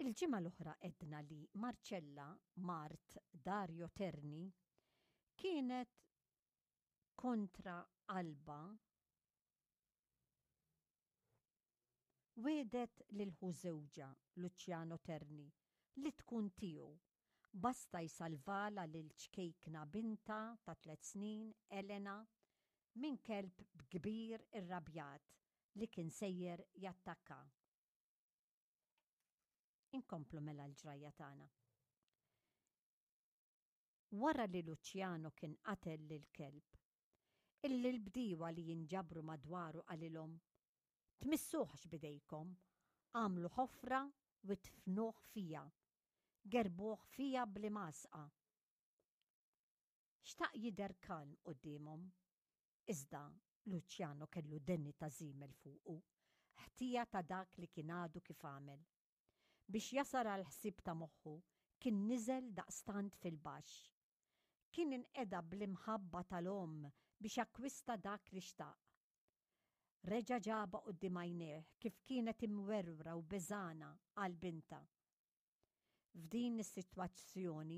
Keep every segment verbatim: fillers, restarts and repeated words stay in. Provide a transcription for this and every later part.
Il-ġimgħa l-oħra għedna li Marcella, mart Dario Terni, kienet kontra qalbha wiegħdet lil ħu żewġha Luciano Terni li tkun tiegħu basta jsalvalha lil ċkejkna bintha ta' tliet snin, Elena, minn kelb kbir irrabjat li kien sejjer jattakka. Inkomplu mela l-ġrajja tagħna. Wara li Luciano kien qatel lill-kelb, illi l-bdiewa li jinġabru madwaru qalilhom, Tmissuhx b'idejkom, agħmlu ħofra u idfnuh fiha, gerbuh fiha bl-imgħasqa. Xtaq jidher kalm quddiemhom, iżda Luciano kellu deni ta' żiemel fuqu, ħtija ta' dak li kien għadu kif għamel. Biex jasal għall-ħsieb ta' moħħu, kien niżel daqstant fil-baxx. Kien inqeda bl-imħabba tal-omm biex akkwista dak li xtaq. Reġa' ġabha quddiem għajnejh kif kienet imwerwra u beżgħana għal bintha. F'din is-sitwazzjoni,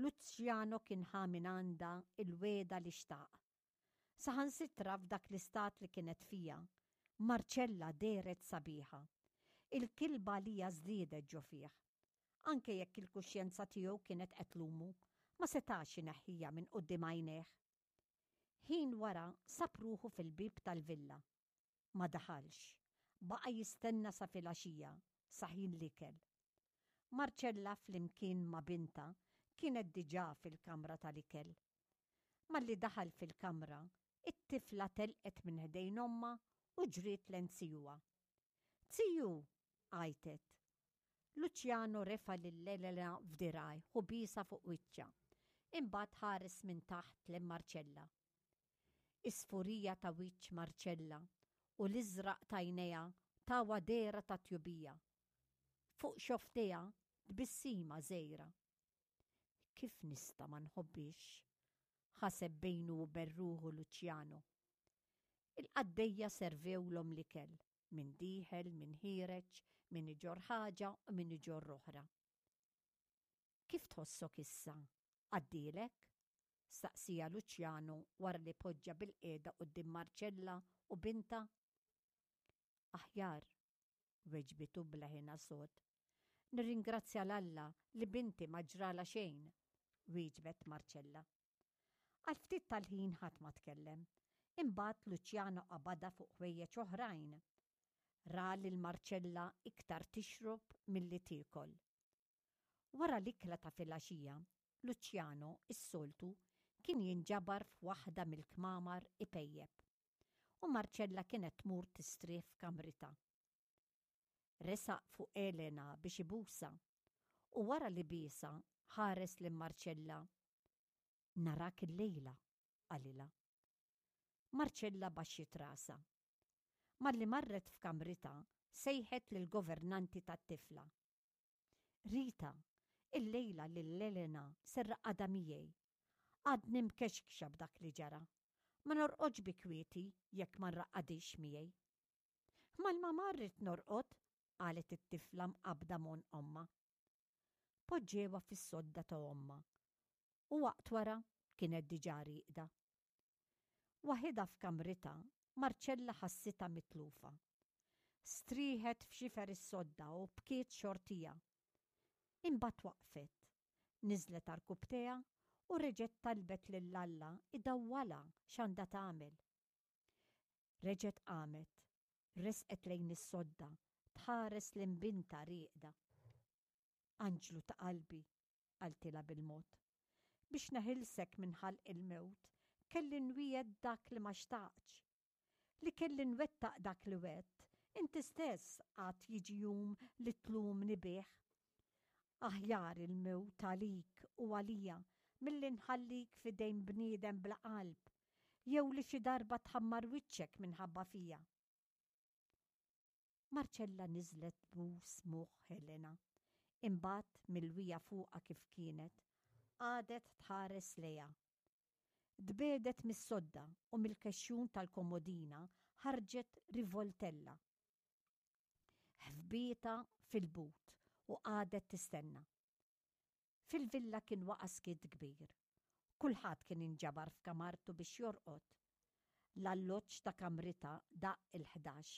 Luciano kien ħa mingħandha l-wegħda li xtaq. Saħansitra f'dak l-istat li kienet fiha, Marcella dehret sabiħa. Il-kilba għaliha żdiedet ġo fih. Anke jekk il-kuxjenza tiegħu kienet qed tlumu, ma setax ineħħiha minn quddiem għajnejh. Ħin wara sab ruħu fil-bieb tal-villa. Ma daħalx. Baqa' jistenna sa filgħaxija, sa ħin l-ikel. Marcella flimkien ma' bintha kienet diġà fil-kamra tal-ikel. Malli daħal fil-kamra, it-tifla telqet minn ħdejn ommha u ġriet lejn zijuha. Ziju! għajtet. Luciano refa' lil Elena f'dirgħajh u biesha fuq wiċċha. Imbagħad ħares minn taħt lejn Marcella. Is-sfurija ta' wiċċ Marcella u l-iżraq t'għajnejha tawha dehra ta' tjubija. Fuq xofftejha tbissima żgħira. Kif nista' ma nħobbhiex? ħaseb bejnu u ben ruħu Luciano. Il-qaddejja servewlhom l-ikel, min dieħel, min ħiereġ, min iġorr ħaġa u min iġorr oħra. Kif tħossok issa? Għaddielek? staqsieha Luciano wara li poġġa bilqiegħda quddiem Marcella u bintha. Aħjar, weġbitu b'leħinha sod. Nirringrazzja 'l Alla li binti ma ġralha xejn, wieġbet Marcella. Għal ftit tal-ħin ħadd ma tkellem. Imbagħad Luciano qabadha fuq ħwejjeġ oħrajn. Ra lil Marcella iktar tixrob milli tiekol. Wara l-ikla ta' filgħaxija, Luciano, is-soltu, kien jinġabar f'waħda mill-kmamar ipejjep. U Marcella kienet tmur tistrieħ f'kamritha. Resaq fuq Elena biex ibusha u wara li biesha ħares lil Marcella. Narak illejla, qalilha. Marcella baxxiet rasha. Malli marret f'kamritha sejħet lill-governanti tat-tifla. Rita, illejla lil Elena se rraqqadha miegħi. Għadni mkexkxa b'dak li ġara. Ma norqodx bi kwieti jekk ma nraqqadhiex miegħi. Mal-mamà rrid norqod, qalet it-tifla mqabbda m'għonq ommha. Poġġewha fis-sodda ta' ommha u waqt wara kienet diġà rieqda. Waħidha f'kamritha, Marcella ħassitha mitlufa. Strieħet f'xifer is-sodda u bkiet xortija. Imbagħad waqfet, niżlet għarkupptejha u reġgħet talbet lil Alla idawwalha x'għandha tagħmel. Reġgħet qamet, resqet lejn is-sodda, tħares lejn bintha rieqda. Anġlu ta' qalbi, qaltilha bil-mod. Biex neħilsek minn ħalq il-mewt, kelli nwiegħed dak li ma xtaqtx. Li kelli nwettaq dak li wegħedt, inti stess għad jiġi jum li tlumni bih. Aħjar il-mewt għalik u għalija milli nħallik f'idejn bniedem bla qalb, jew li xi darba tħammar wiċċek minħabba fija. Marcella niżlet tbus moħħ Helena, imbagħad milwija fuqha kif kienet, qagħdet tħares lejha. Tbiegħdet mis-sodda u mill-kexxun tal-komodina ħarġet rivoltella. Ħfbietha fil-but u qagħdet tistenna. Fil-villa kien waqa' skiet kbir. Kulħadd kien inġabar f'kamartu biex jorqod. L-alloġġ ta' kamritha daqq il-ħdax.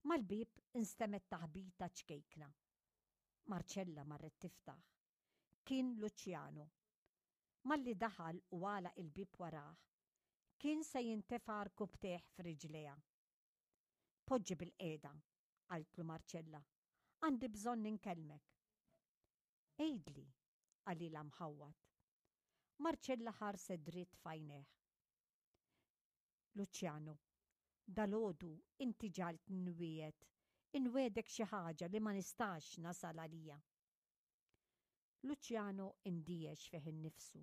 Mal-bieb instemgħet taħbita ċkejkna. Marcella marret tiftaħ. Kien Luciano. Malli daħal u għalaq il-bieb warah, kien se jintefa' rkubtejh f'riġlejha. Poġġi bilqiegħda, qaltlu Marcella. Għandi bżonn inkellmek. Għidli, qalilha mħawwad. Marcella ħarset dritt f'għajnejh. Luciano, dalgħodu inti ġagħaltni nwiegħed, inwiegħdek xi ħaġa li ma nistax nasal għalija. Luciano indiex fih innifsu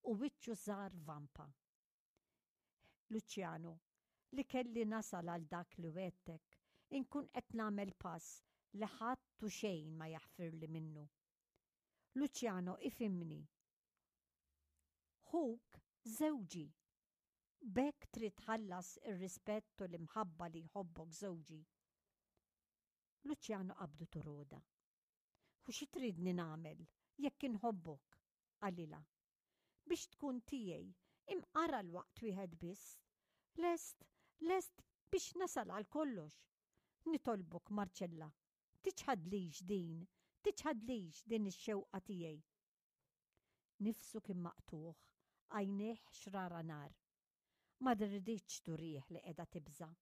u wiċċu sar vampa. Luciano, li kelli nasal għal dak li wegħdtek, inkun qed nagħmel pass li ħadd u xejn ma jaħfirli minnu. Luciano, ifhimni. Ħuk żewġi. B'hekk trid tħallas ir-rispett u l-imħabba li jħobbok żewġi. Luciano qabdu toroda. U xi tridni nagħmel jekk inħobbok? Qalilha. Biex tkun tiegħi, imqar għal waqt wieħed biss. Lest, lest biex nasal għal kollox. Nitolbok, Marcella, tiċħadlix din, tiċħadlix din ix-xewqa tiegħi. Nifsu kien maqtugħ, għajnejh xrara nar. Ma riditx turih li qiegħda tibża'.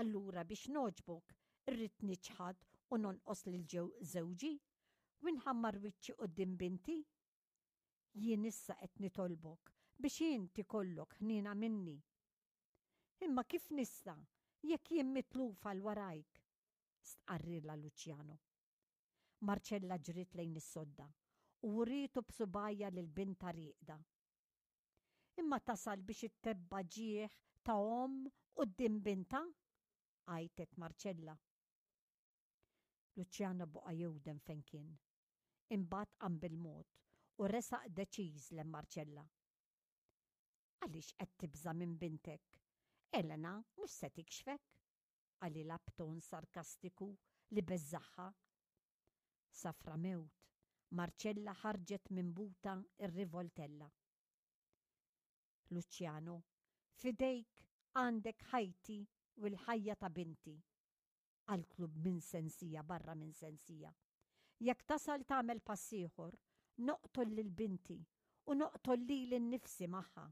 Allura biex nogħġbok irrid niċħad u nonqos lil ġew żewġi u nħammar wiċċi quddiem binti? Jien issa qed nitolbok biex inti kollok ħniena minni. Imma kif nista' jekk jien mitlufa 'l warajk? Stqarrilha Luciano. Marcella ġriet lejn is-sodda u wrietu b'subgħajha lil bintha rieqda. Imma tasal biex ittebba' ġieħ ta' omm quddiem bintha? Għajtet Marcella. Luciano baqa' jewden fejn kien. Imbagħad qam bil-mod u resaq deċiż lejn Marcella. Għaliex qed tibża' minn bintek? Elena mhux se tikxfek? Qalilha b'ton sarkastiku li beżżagħha. Safra mewt, Marcella ħarġet minn butha r-rivoltella. Luciano, f'idejk għandek ħajti u l-ħajja ta' binti. Qaltlu minn sensija barra minn sensija. Jekk tasal tagħmel pass ieħor, noqtol lil binti u noqtol lili nnifsi magħha.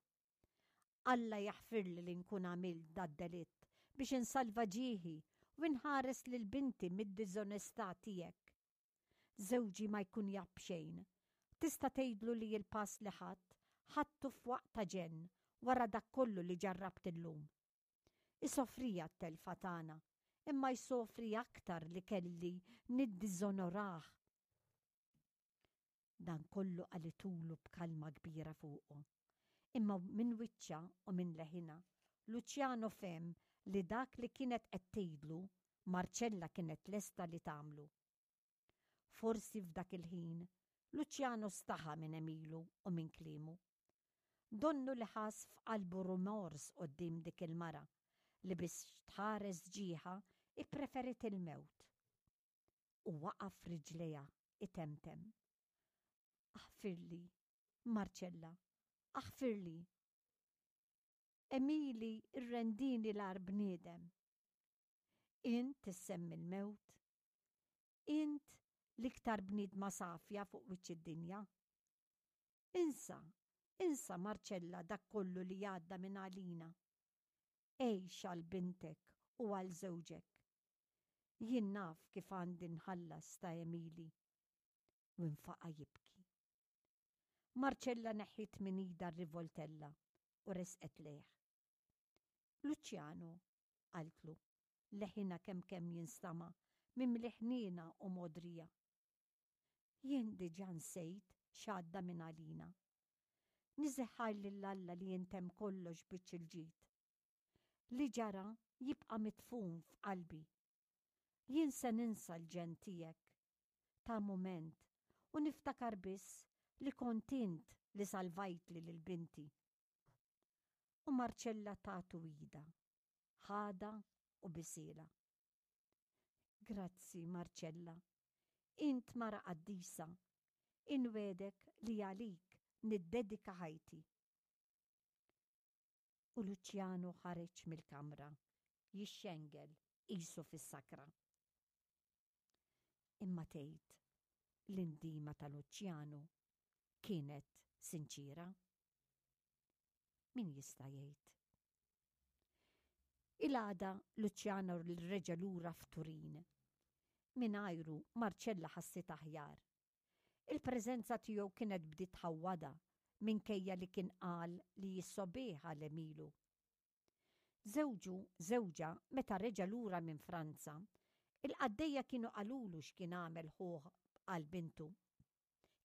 Alla jaħfirli li nkun għamilt dad-delitt biex insalva ġieħi u nħares lil binti mid-diżonestà tiegħek. Żewġi ma jkun jaf b'xejn. Tista' tgħidlu li l-pass li ħadt, ħadtu f'waqt ta' ġenn wara dak kollu li ġarrabt illum. Isofrija t-telfa tagħna, imma jsofri aktar li kelli niddiżonorah. Dan kollu qalitulu b'kalma kbira fuqu. Imma minn wiċċha u minn leħinha, Luciano fehem li dak li kienet qed tgħidlu, Marcella kienet lesta li tagħmlu. Forsi f'dak il-ħin, Luciano staħa minn għemilu u minn kliemu. Donnu li ħass f'qalbu rumors quddiem dik il-mara li biex tħares ġieħha ippreferit il-mewt. U waqaf riġlejha itemtem. Aħfirli, Marcella, aħfirli. Għemili rrendini l-agħar bniedem. Int issemmi l-mewt. Int l-iktar bniedma safja fuq wiċċ id-dinja. Insa, insa Marcella dak kollu li għadda minn għalina. Għix għal bintek u għal żewġek. Jien naf kif għandi nħallas ta' għemili. U nfaqa' jibki. Marcella neħħiet minn idha r-rivoltella u resqet lejh. Luciano, qaltlu, leħinha kemm kemm jinstama' mimli ħniena u mogħdrija. Jien diġà nsejt x'għadda minn għalina. Niżeħħaj lil Alla li jintemm kollox biċ il-ġid. Li ġara jibqa' midfun f'qalbi. Jien se ninsa l-ġenn tiegħek ta' mument u niftakar biss li kont int li salvajtli lil binti. U Marcella tatu idha, ħadha u bisielha. Grazzi, Marcella. Int mara qaddisa. Inwegħdek li għalik niddedika ħajti. U Luciano ħareġ mill-kamra, jixxengel qisu fis-sakra. Imma tgħid l-indima ta' Luciano kienet sinċira? Min jista' jgħid? Il-għada Luciano reġa' lura f'Turin. Mingħajru Marcella ħassit aħjar. Il-preżenza tiegħu kienet bdiet tħawwadha minkejja li kien qal li jissobeħ għal għemilu. Żewġu, żewġha meta reġa' lura minn Franza, il-qaddejja kienu qalulu x'kien għamel ħuh għal bintu.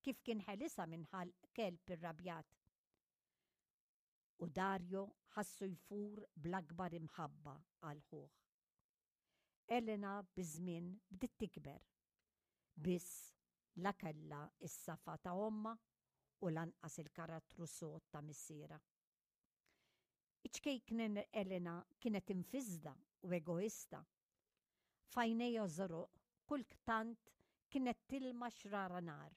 Kif kien ħelisha minn ħalq kelb irrabjat. U Dario ħassu jfur bl-akbar imħabba għal ħuh. Elena biż-żmien bdiet tikber. Biss la kellha s-safa ta' ommha u lanqas il-karattru sod ta' missierha. Iċ-ċkejkna Elena kienet imfisda u egoista. F'għajnejha żoroq kultant kienet tilma xrara nar.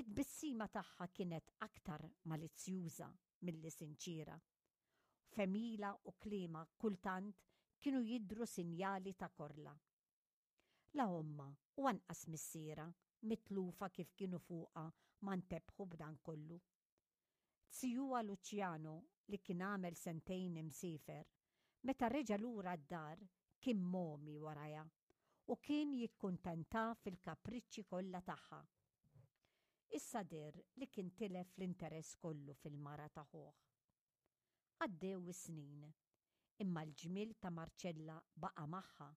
It-tbissima tagħha kienet aktar malizzjuża milli sinċiera. F'għemilha u kliemha kultant kienu jidhru sinjali ta' korla. La ommha u anqas missierha mitlufa kif kienu fuqha ma ntebħu b'dan kollu. Zijuha Luciano li kien għamel sentejn imsiefer, meta reġa' lura d-dar kien momi warajha u kien jikkuntenta fil-kapriċċi kollha tagħha. Issa deher li kien tilef l-interess kollu fil-mara ta' ħuh. Għaddew is-snin, imma l-ġmiel ta' Marcella baqa' magħha.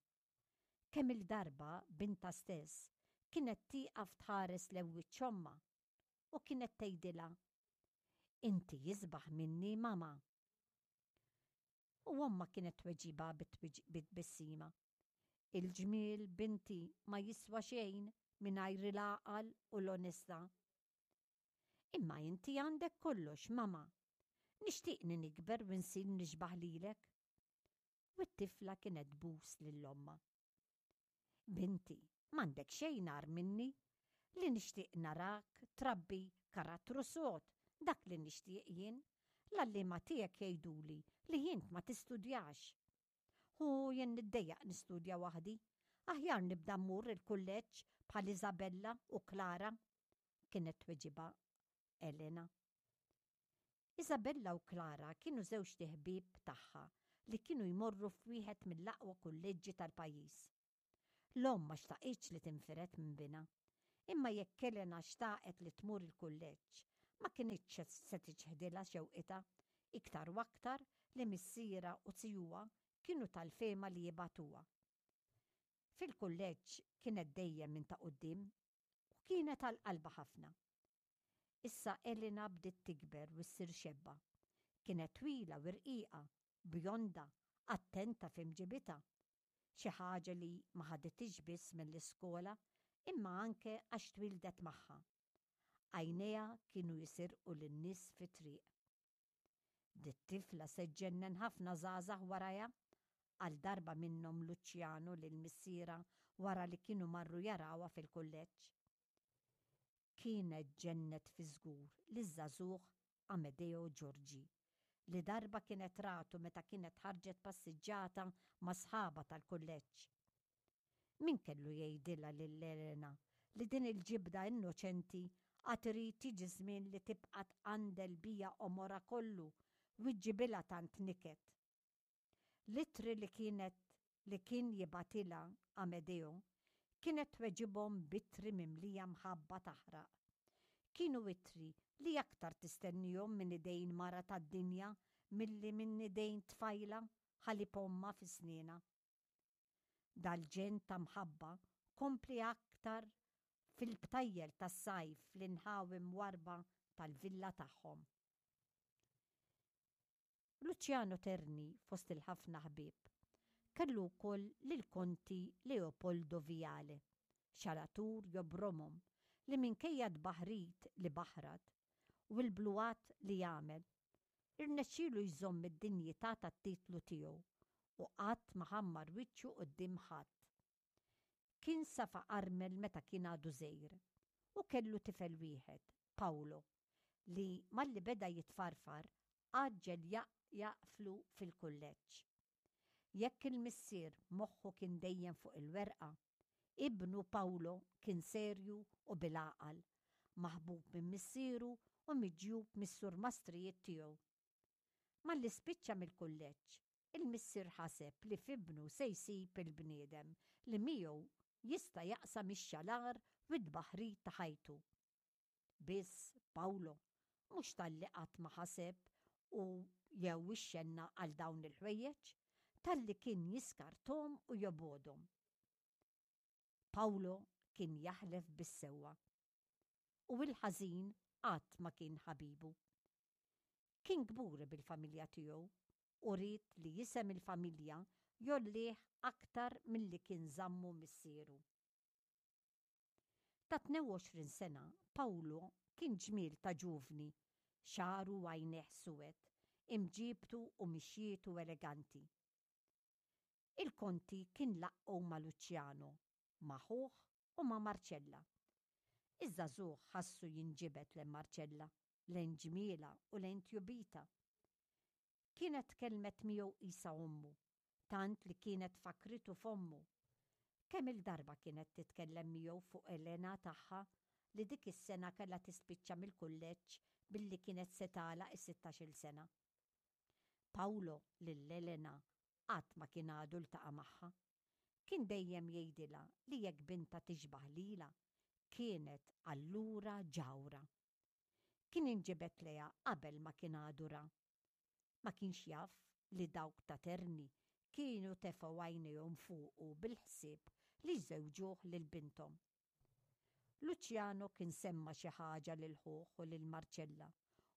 Kemm-il darba bintha stess kienet tieqaf tħares lejn wiċċ ommha u kienet tgħidilha, Inti isbaħ minni, mama. U ommha kienet tweġibha bit-tbissima. Il-ġmiel, binti, ma jiswa xejn mingħajr il-għaqal u l-onestà. Imma inti għandek kollox, mama. Nixtieqni nikber u nsir nixbaħ lilek. U t-tifla kienet tbus lil ommha. Binti, m'għandek xejn agħar minni. Li nixtieq narak trabbi karattru sod, dak li nixtieq jien. L-għalliema tiegħek jgħiduli li int ma tistudjax. U jien niddejjaq nistudja waħdi. Aħjar nibda mmur il-kulleġġ bħal Isabella u Clara, kienet tweġibha Elena. Isabella u Clara kienu żewġt iħbieb tagħha li kienu jmorru f'wieħed mill-aqwa kulleġġi tal-pajjiż. L-omm ma xtaqitx li tinfired minn binha. Imma jekk Elena xtaqet li tmur il-kulleġġ, ma kinitx se tiċħdilha xewqitha, iktar u aktar li missierha u zijuha kienu tal-fehma li jibagħtuha. Fil-kulleġġ kienet dejjem minn ta' quddiem u kienet għal qalbha ħafna. Issa Elena bdiet tikber u ssir xebba. Kienet twila u rqiqa, bjonda, attenta f'imġibitha. Xi ħaġa li ma ħaditix biss mill-iskola imma anke għax twildet magħha. Għajnejha kienu jisirqu lin-nies fit-triq. Dit-tifla se ġġennen ħafna żgħażagħ warajha, qal darba minnhom Luciano lil missierha wara li kienu marru jarawha fil-kulleġġ. Kienet ġennet fi żgur liż-żagħżugħ Amedeo Giorgi, li darba kienet ratu meta kienet ħarġet passiġġata ma' sħabha tal-kulleġġ. Min kellu jgħidilha lil Elena li din il-ġibda innoċenti għad irid jiġi żmien li tibqa' tqandel biha għomorha kollu u ġġibilha tant niket. L-ittri li kienet li kien jibgħatilha Amedeo kienet tweġibhom b'ittri mimlija mħabba taħraq. Kienu ittri li aktar tistennihom minn idejn mara tad-dinja milli minn idejn tfajla ħalib ommha fi snienha. Dal-ġenn ta' mħabba kompli aktar fil-btajjel tas-sajf fl-inħawi mwarrba tal-villa tagħhom. Luciano Terni fost il-ħafna ħbieb kellu wkoll lill-Konti Leopoldo Viale, xalatur jobromhom li minkejja t-tbaħrid li baħrat u l-bluhat li għamel, irnexxielu jżomm id-dinjità tat-titlu tiegħu u qatt ma ħammar wiċċu quddiem ħadd. Kien safa armel meta kien għadu żgħir u kellu tifel wieħed, Paolo, li malli beda jitfarfar għaġġel jaqflu fil-kulleġġ. Jekk il-missier moħħu kien dejjem fuq il-werqa, ibnu Paolo kien serju u bil-għaqal, maħbub minn missieru u miġjub mis-surmastrijiet tiegħu. Malli spiċċa mill-kulleġġ, il-missier ħaseb li f'ibnu se jsib il-bniedem li miegħu jista' jaqsam ix-xalar u t-tbaħrid ta' ħajtu. Biss Paolo mhux talli qatt ma ħaseb u jew ixxenna għal dawn il-ħwejjeġ, talli kien jiskarthom u jobgħodhom. Paolo kien jaħlef bis-sewwa u l-ħażin qatt ma kien ħabibu. Kien kburi bil-familja tiegħu u ried li isem il-familja jgħollih aktar milli kien żammu missieru. Ta' tnejn u għoxrin sena, Paolo kien ġmiel ta' ġuvni, xagħru u għajnejh suwed, imġiebtu u mixjietu eleganti. Il-Konti kien laqqgħu ma' Luciano, ma' ħuh u ma' Marcella. Iż-żagħżugħ ħassu jinġibed lejn Marcella, lejn ġmielha u lejn tjubitha. Kienet tkellmet miegħu qisha ommu, tant li kienet fakkritu f'ommu. Kemm-il darba kienet titkellem miegħu fuq Elena tagħha li dik is-sena kellha tispiċċa mill-kulleġġ billi kienet se tagħlaq is-sittax-il sena. Paolo lil Elena qatt ma kien għadu ltaqa' magħha. Kien dejjem jgħidilha li jekk bintha tixbah lilha, kienet allura ġawra. Kien inġibed lejha qabel ma kien għadu ra. Ma kienx jaf li dawk ta' Terni kienu tefgħu għajnejhom fuqu bil-ħsieb li jżewġuh lil binthom. Luciano kien semma xi ħaġa lil ħuh u lil Marcella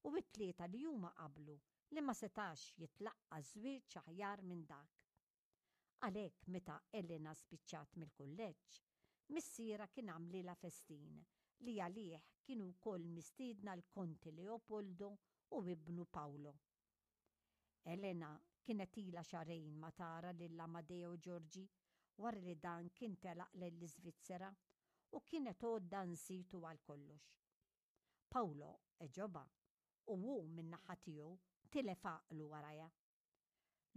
u t-tlieta li huma qablu li ma setax jitlaqqa' żwieġ aħjar minn dak. Għalhekk meta Elena spiċċat mill-kulleġġ, missierha kien għamlilha festin li għalih kienu wkoll mistiedna l-Konti Leopoldo u ibnu Paolo. Elena kienet ilha xahrejn ma tara lil Amadeo Giorgi wara li dan kien telaq lejn l-Iżvizzera u kienet għodda nsietu għal kollox. Paolo għeġobha u hu min-naħa tiegħu tilef għaqlu warajha.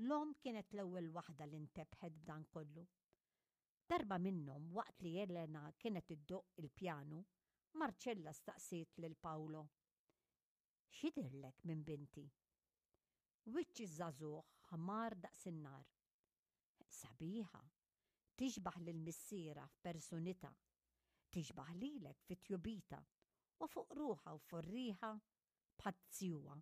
L-omm kienet l-ewwel waħda li ntebħet b'dan kollu. Darba minnhom waqt li Elena kienet iddoqq il-pjanu, Marcella staqsiet lil Paolo, X'jidhirlek minn binti? Wiċċ iż-żagħżugħ ħmar daqs in-nar. Sabiħa, tixbah lil missierha f'persunitha, tixbah lilek fi tjubitha u fuq ruħha u fuq riħha bħal zjuha.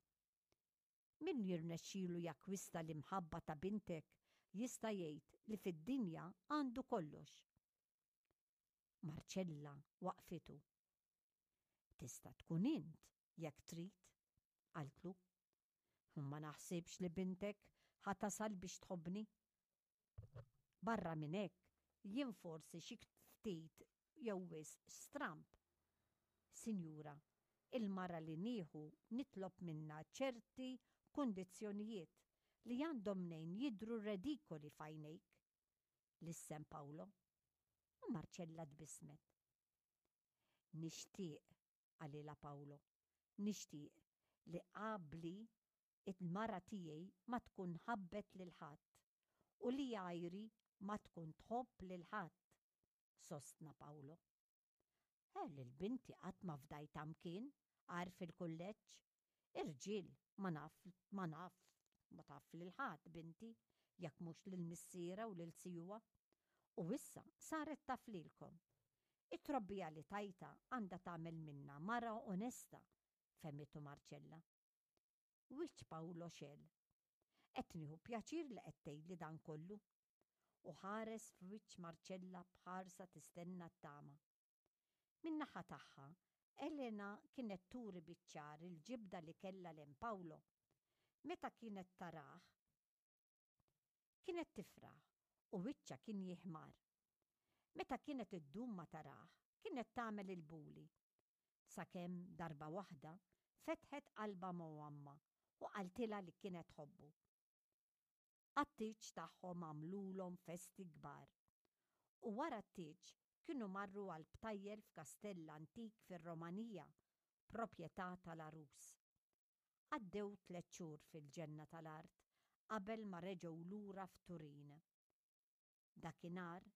Min jirnexxilu jakkwista l-imħabba ta' bintek jista' jgħid li fid-dinja għandu kollox. Marcella waqfitu. Tista' tkun int jekk trid, qaltlu. Ma naħsibx li bintek ħa tasal biex tħobbni. Barra minn hekk, jien forsi xi ftit jew wisq stramb. Sinjura, il-mara li nieħu nitlob minnha ċerti kundizzjonijiet li għandhom mnejn jidhru redikoli f'għajnejk. Lissen Paolo. U Marcella tbissmet. Nixtieq, qalilha Paolo, nixtieq li qabli il-mara tiegħi ma tkun ħabbet lil ħadd u li għajri ma tkun tħobb lil ħadd, sostna Paolo. Eh, lil binti qatt ma fdajtha mkien għajr fil-kulleġġ. Irġiel ma naf, ma naf, ma taf lil ħadd binti, jekk mhux lil missierha u lil zijuha. U issa saret taf lilkom. It-trobbija li tajtha għandha tagħmel minnha mara onesta, fehmitu Marcella. Wiċċ Paolo xegħel. Qed nieħu pjaċir li qed tgħidli dan kollu. U ħares f'wiċċ Marcella b'ħarsa tistenna t-tama. Min-naħa tagħha, Elena kienet turi biċ-ċar il-ġibda li kellha lejn Paolo. Meta kienet tarah, kienet tifraħ u wiċċha kien jiħmar. Meta kienet iddum ma tarah, kienet tagħmel il-buli. Sakemm darba waħda fetħet qalbha ma' ommha u qaltilha li kienet tħobbu. Għat-tieġ tagħhom għamlulhom festi kbar. U wara t-tieġ kienu marru għal btajjel f'kastell antik fir-Romanija, proprjetà tal-għarus. Għaddew tliet xhur fil-ġenna tal-art qabel ma reġgħu lura f'Turin. Dakinhar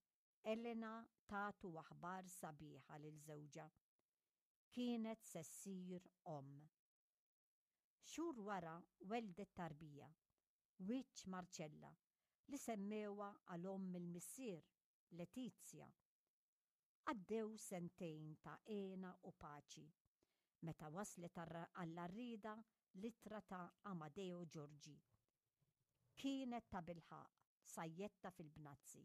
Elena tatu aħbar sabiħa lil żewġha. Kienet se ssir omm. Xhur wara weldet tarbija, wiċċ Marcella, li semmewha għal omm il-missier, Letizia. Għaddew sentejn ta' hena u paċi, meta waslet għall-għarrieda l-ittra ta' Amadeo Giorgi. Kienet tabilħaqq sajjetta fil-bnazzi.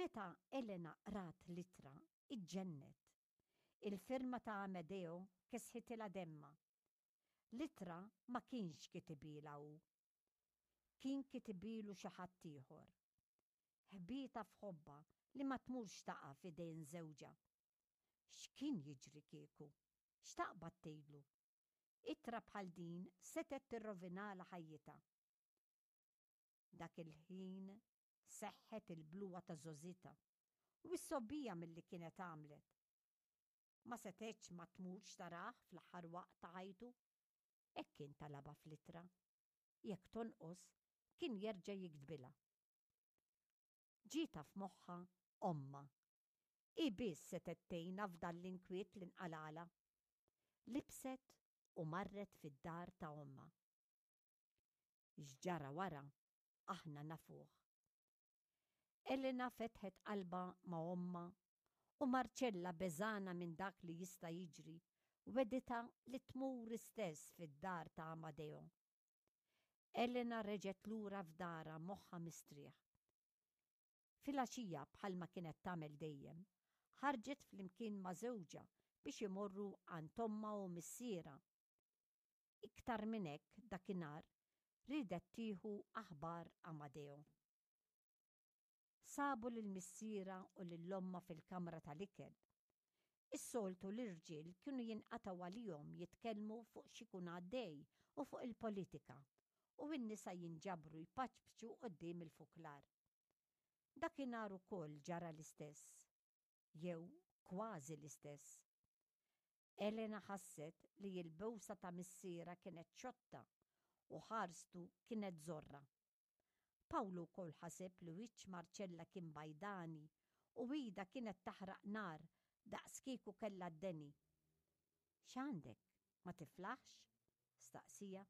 Meta Elena qrat l-ittra, iġġennet. Il-firma ta' Amedeo kesħitilha demmha. L-ittra ma kienx kitibhielha hu. Kien kitibhielu xi ħadd ieħor. Ħbietha f'ħobbha li ma tmurx taqa' f'idejn żewġha. X'kien jiġri kieku? X'taqbad tgħidlu? Ittra bħal din setgħet tirrovinalha ħajjitha. Dak il-ħin seħħet il-bluha ta' żgħożitha u s-sobbija milli kienet għamlet. Ma setgħetx ma tmurx tarah fl-aħħar waqt ta' ħajtu. Hekk kien talabha fl-ittra. Jekk tonqos, kien jerġa' jiktbilha. Ġietha f'moħħha ommha. Hi biss setgħet tgħinha f'dan l-inkwiet li nqalgħalha. Libset u marret fid-dar ta' ommha. X'ġara wara aħna nafuh. Elena fetħet qalbha ma' ommha u Marcella beżgħana minn dak li jista' jiġri wegħditha li tmur istess fid-dar ta' Amadeo. Elena reġgħet lura f'darha moħħha mistrieħ. Filgħaxija bħalma kienet tagħmel dejjem, ħarġet flimkien ma' żewġha biex imorru għand ommha u missierha. Iktar minn hekk dakinhar riedet tieħu aħbar Amadeo. Sabu lil missierha u lil ommha fil-kamra tal-ikel. Is-soltu l-irġiel kienu jinqatgħu għalihom jitkellmu fuq x'ikun għaddej u fuq il-politika, u n-nisa jinġabru jpaċpċu quddiem il-fuklar. Dakinhar ukoll ġara l-istess, jew kważi l-istess. Elena ħasset li l-bewsa ta' missierha kienet xotta u ħarstu kienet żorra. Pawlu wkoll ħaseb li wiċċ Marcella kien bajdani u idha kienet taħraq nar daqs kieku kellha d-deni. X'għandek? Ma tiflaħx? staqsieha.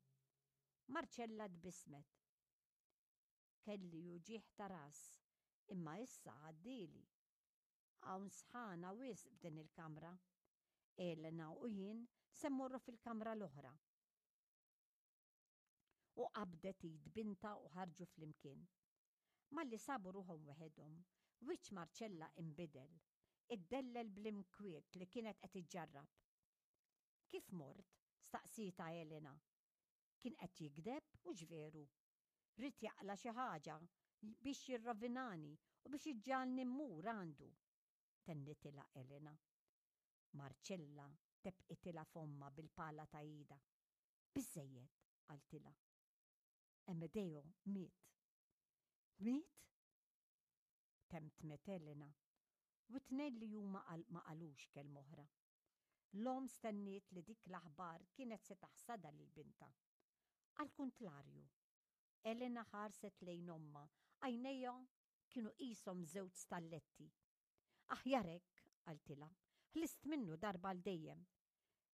Marcella tbissmet. Kelli uġigħ ta' ras, imma issa għaddieli. Hawn sħana wisq f'din il-kamra. Elena u jien se mmorru fil-kamra l-oħra. U qabdet id bintha u ħarġu flimkien. Malli sabu ruħhom weħedhom, wiċċ Marcella inbidel, iddellel bl-inkwiet li kienet qed iġġarrab. Kif mort? staqsietha Elena. Kien qed jigdeb u veru. Ried jaqla' xi ħaġa biex jirrovinani u biex iġġagħalni mmur għandu. Tennitilha Elena. Marcella tebqitilha fommha bil-pala ta' idha. Biżżejjed, qaltilha. Amedeo miet. Miet? Temtmet Elena. U t-tnejn li huma ma qalux kelma oħra. L-omm stenniet li dik l-aħbar kienet se taħsadha lil bintha. Għall-kuntrarju, Elena ħarset lejn ommha, għajnejha kienu qishom żewġ stalletti. Aħjar hekk, qaltilha, ħlist minnu darba għal dejjem.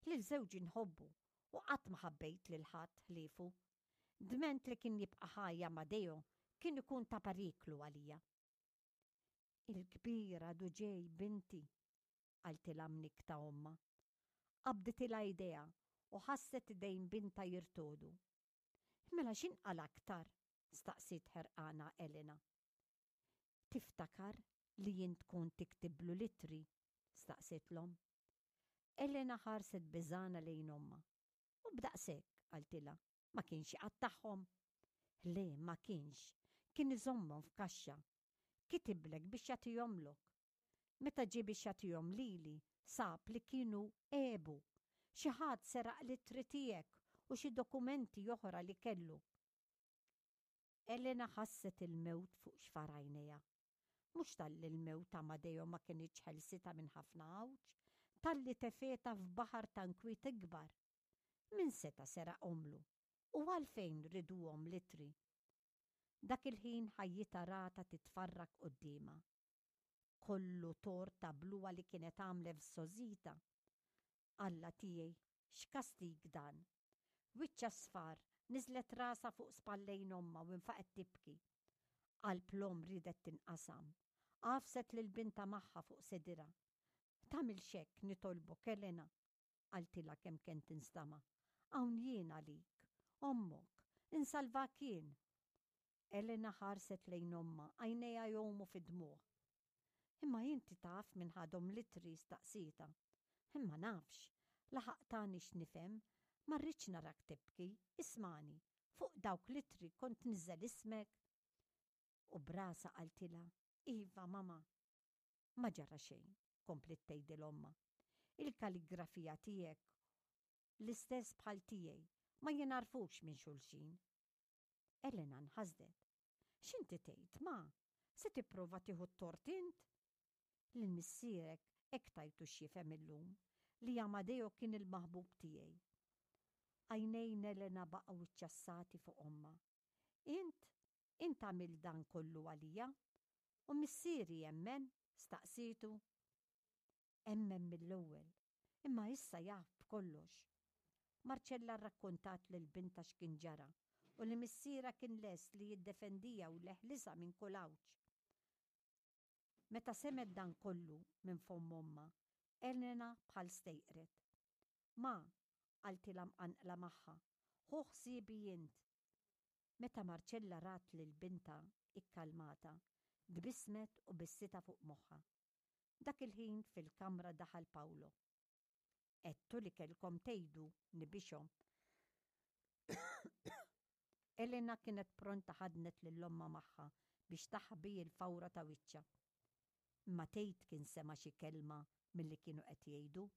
Lil żewġi nħobbu u qatt ma ħabbejt lil ħadd ħliefu. Dment li kien jibqa' ħaj Amadeo kien ikun ta' periklu għalija. Il-kbir għadu ġej, binti, qaltilha mnikkta ommha. Qabditilha idejha u ħasset idejn bintha jirtogħdu. Mela x'inqala' aktar? staqsiet ħerqana Elena. Tiftakar li jint kont tiktiblu l-ittri? staqsiet l-omm. Elena ħarset beżgħana lejn ommha. U b'daqshekk, qaltilha, ma kienx iqattagħhom. Le, ma kienx. Kien iżommhom f'kaxxa. Kitiblek biex jagħtihomlok. Meta ġie biex jagħtihom lili, sab li kienu għebu. Xi ħadd seraq l-ittri tiegħek u xi dokumenti oħra li kellu. Elena ħasset il-mewt fuq xfar għajnejha. Mhux talli l-mewt ta' Amadeo ma kinitx ħelsitha minn ħafna għawġ, talli tefgħetha f'baħar ta' nkwiet ikbar. Min seta' seraqhomlu? U għalfejn riduhom l-ittri? Dak il-ħin ħajjitha ratha titfarrak quddiemha. Kollu tort ta' bluha li kienet għamlet f'żgħożitha. Alla tiegħi, x'kastig dan! Wiċċha sfar, niżlet rasha fuq spallejn ommha u infaqgħet tibki. Qalb l-omm riedet tinqasam. Għafset lil bintha magħha fuq sedirha. Tagħmilx hekk, nitolbok, Elena, qaltilha kemm kien tinstama'. Hawn jien għalik, ommok, insalvak jien. Elena ħarset lejn ommha, għajnejha jgħumu fid-dmugħ. Imma inti taf min ħadhom l-ittri staqsietha. Imma nafx, laħaq tani x'nifhem, ma rridx narak tibki, ismagħni, fuq dawk l-ittri kont tniżżel ismek. U b'rasha qaltilha, Iva, mama. Ma ġara xejn, kompliet tgħidil ommha. Il-kaligrafija tiegħek l-istess bħal tiegħi, ma jingħarfux minn xulxin. Elena nħasdet. X'inti tgħid, ma? Se tipprova tieħu t-tort int? Lil missierek hekk tajtu x'jifhem illum li Amadeo kien il-maħbub tiegħi. Għajnejn Elena baqgħu ċċassati fuq ommha. Int, int għamilt dan kollu għalija? U missieri emmen? Staqsietu. Emmen mill-ewwel, imma issa jaf b'kollox. Marcella rrakkontat lil bintha x'kien ġara u li missierha kien lest li jiddefendiha u jeħlisha minn kull għawġ. Meta semgħet dan kollu minn fomm ommha, Elena bħal stejqret. Ma, qaltilha mqanqla magħha, ħu ħsiebi int. Meta Marcella rat lil bintha ikkalmata, tbissmet u bistha fuq moħħha. Dak il-ħin fil-kamra daħal Paolo. Għedtu li kellkom tgħidu nibixhom. Elena kienet pronta ħadnet lil ommha magħha biex taħbi l-fawra ta' wiċċha. Imma tgħid kien sema' xi kelma milli kienu qed jgħidu.